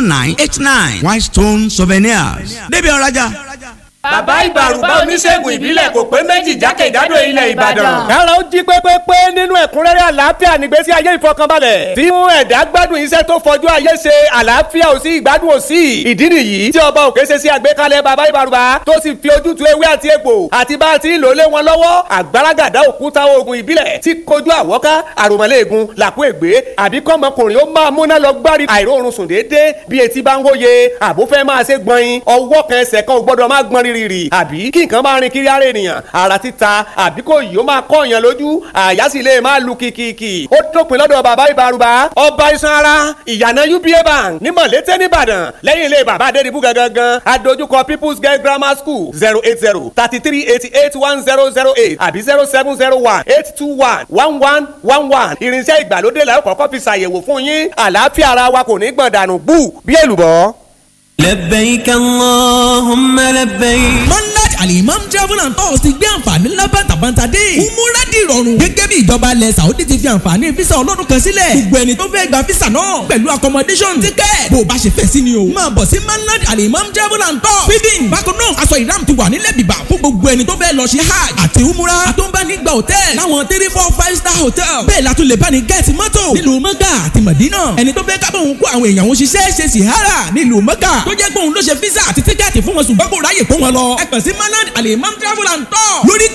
0989. Whitestone Souvenirs, débi ọ̀rajà. Bàbá Ìbàrùbá, oníṣègùn ìbílẹ̀ kò pé méjì jákèjádò ilẹ̀ Ìbàdàn. Kára ó jí pépépé nínú ẹ̀kúnrẹ́rẹ́ àlàáfíà nígbésí ayé ìfọkànbalẹ̀. Tí mú ẹ̀dá gbádùn iṣẹ́ tó fojú ayé ṣe, àlàáfíà ò sí, ìgbádùn ò sí. Ìdí nìyí tí ọba òkè ṣe sí àgbékalẹ̀ bàbá Ìbàrùbá, tó sì fi ojútùú ewé àti egbò àti bá a ti ń lò lé wọn lọ́wọ́. Àgbàràgàdá òkúta oògùn ìbílẹ̀ tí kojú àwọ́ká, àròmọ́lẹ́ẹ̀gùn, làkú ègbé, àbí kọ́mọkùnrin ó máa múná lọ gbárí àìróorun sùn déédéé bí etí bá ń wóye, àbó fẹ́ máa ṣe gbọ̀nyin, ọwọ́ kan ẹsẹ̀ kan ò gbọ́dọ̀ máa gbọ́n rírì, àbí kí nǹkan máa rin kiri ara ènìyàn, ara títa, àbí kò yìí ó máa kọ́ èèyàn lójú, àyà sì lè máa lu kìkìkì. Ó dópin lọ́dọ̀ bàbá Ìbàrùbá, ọba iṣan ara, ìyànà UBA Bank ní Mọ̀lété nìbàdàn, lẹ́yìn ilé bàbá Adédìbú gangan, adójúkọ People's Girl Grammar School. 08033881008 àbí 07018211111. Irinṣẹ́ ìgbàlódé la ó kọ́kọ́ fi ṣàyẹ̀wò fún yín. Àlàáfíà ara wa kò ní gbọ̀n dànù gbù bí èlùbọ́. لبيك اللهم لبيك. Monday Alimam Travel and Tours ti gbé àǹfààní ńlá bàtàbàtà dé. Umura di ìrọ̀rùn. Gẹ́gẹ́ bí ìjọba ilẹ̀ Saudi ti fi àǹfààní físà ọlọ́dún kan sílẹ̀. Gbogbo ẹni tó fẹ́ gba físà náà pẹ̀lú accommodation ticket. Bó o bá ṣe fẹ́ sí ni o. Máa bọ̀ sí Manland Alimam Travel and Tours. Feeding bákan náà, aṣọ ìram ti wà nílẹ̀ bìbà fún gbogbo ẹni tó fẹ́ lọ ṣe hajj àti umura. Àtúnbánigba hotel láwọn three, four, five star hotel. Bẹ́ẹ̀ la tún lè bá ní gẹ́ẹ̀tì mọ́tò nílùú Mọ́gà àti Mọ̀dínà. Ẹni tó fẹ́ kábọ̀ òun kó àwọn èèyàn òun ṣiṣẹ́ ṣe sìhárà nílùú Mọ́gà, tó jẹ́ pé òun ló ṣe físà àti tíkẹ́ẹ̀tì fún wọn, ṣùgbọ́n kò ráyè kó wọn lọ. Ẹ kàn sí Manland Alimam Travel and Tour lórí